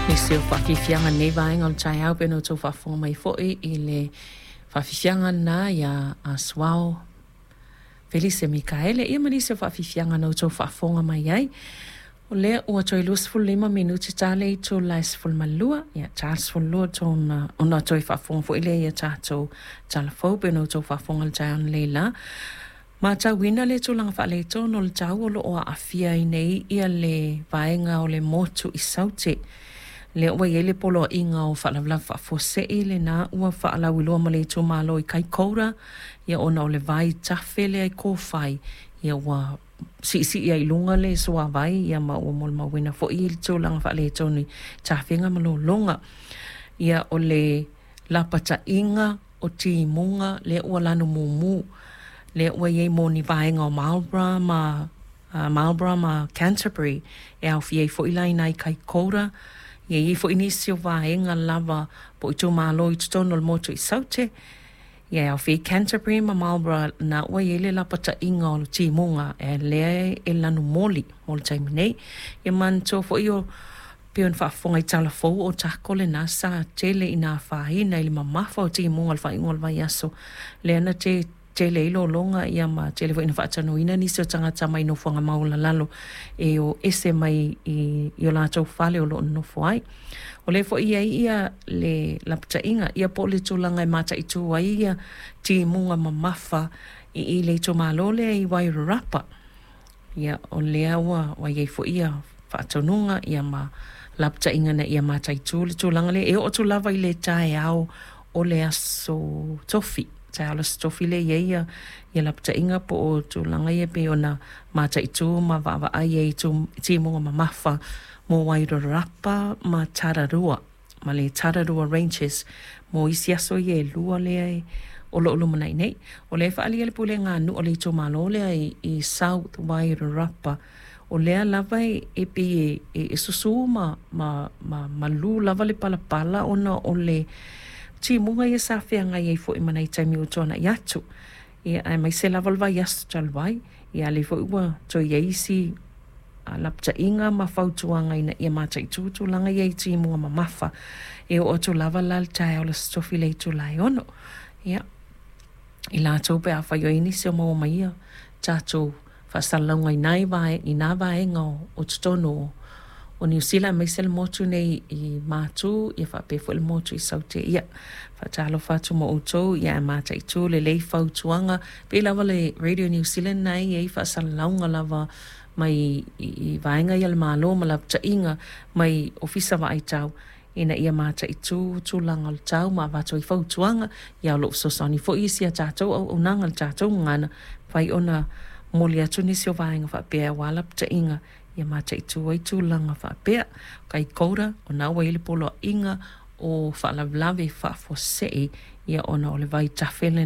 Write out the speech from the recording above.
Nisi o faafiafiaga i lenei vaega o le taeao pei ona outou faafofoga mai foi i le faafiafiaga lena ia Asuao Felise Mikaele, ia ma nisi o faafiafiaga na outou faafofoga mai ai. O lea ua toe 25 minute ta le itula e 12, ia ta le 12 ona toe faafofoga foi lea i a tatou tala fou pei ona outou faafofoga i le taeao analeila. Matauina le tulaga faaletonu o le tau o lo o aafia ai nei ia le vaega o le motu i Saute. Lea ua i ai le poloaiga o faalavelave faafuasei lena ua faalauiloa ma le itumalo i Kaikoura, ia ona o le vaitafe lea i Kowhai, ia ua siisii ai i luga le suavai, ia ma ua molimauina foi le tulaga faaletonu i tafega ma lologa. Ia o le lapataiga o timuga lea ua lanu mumu, lea ua i ai mo ni vaega o Marlborough ma Marlborough ma Canterbury e aofia ai foi la i ina i Kaikoura. Ia e i ai foi nisi o vaega lava po o itumalo i totonu o le motu i Saute, ia e aofia ai Canterbury ma Marlborough na ua i ai le lapataiga o timuga lea e lanu moli mo le taimi nei. Ia manatua foi o pei ona faafofoga i tala fou o Otago lena sa tele ina afaina i le mamafa o timuga i le faaiuga o le vaiaso lea na tele ai lologa ia ma tele foi ina faatalanoaina nisi o tagata mai nofoaga maualalalo e o ese mai i o latou fale o lo o nonofo ai. O lea foi e i ai ia le lapataiga ia po o le tulaga e mataitu ai ia timuga mamafa i le itumalo lea i Wairarapa. Ia, o lea ua i ai foi ia faatonuga ia ma lapataiga ina ia mataitu le tulaga lea e oo atu lava i le taeao o le aso Tofi, taeao o le aso Tofi lea e i ai ia, ia lapataiga po o tulaga ia pei ona mataitu ma vaavaai ai i timuga mamafa mo Wairarapa ma Tararua ma le Tararua Ranges mo isi aso ia e lua lea o lo o lumanai nei. O lea e faaalia le pulega a nuu a le itumalo lea i South Wairarapa, o lea lava e pei e susu ma malu lava le palapala ona o le timuga ia sa feagai ai foi ma nai taimi ua tuanai atu. Ia, aemaise lava le vaiaso talu ai, ia a o lea foi ua toe i ai isi lapataiga ma fautuaga ina ia mataitu tulaga ia i timuga mamafa e oo atu lava la i le taeao o le Aso Tofi i le itula e 6. Ia, i latou pe afai o i ai nisi o maua mai ia tatou faasalalauga i na vaega o totonu o Niu Sila aemaise le motu nei i Matu ia faapea foi le motu i Saute. Ia, faatalofa atu ma outou, ia ae mataitu lelei fautuaga. Pei lava le Radio New Zealand na e i ai faasalalauga lava mai i vaega ia a le Malo ma lapataiga mai Ofisa Vaai Tau ina ia mataitu tulaga o le tau ma avatu ai fautuaga. Ia o lo o fesoasoani foi isi a tatou auaunaga i le tatou gagana, mafai ona momoli atu nisi o vaega faapea aua lapataiga ia mataitu ai tulaga faapea. O Kaikoura, o na ua i ai le poloaiga o faalavelave faafuasei ia ona o le vaitafe lena.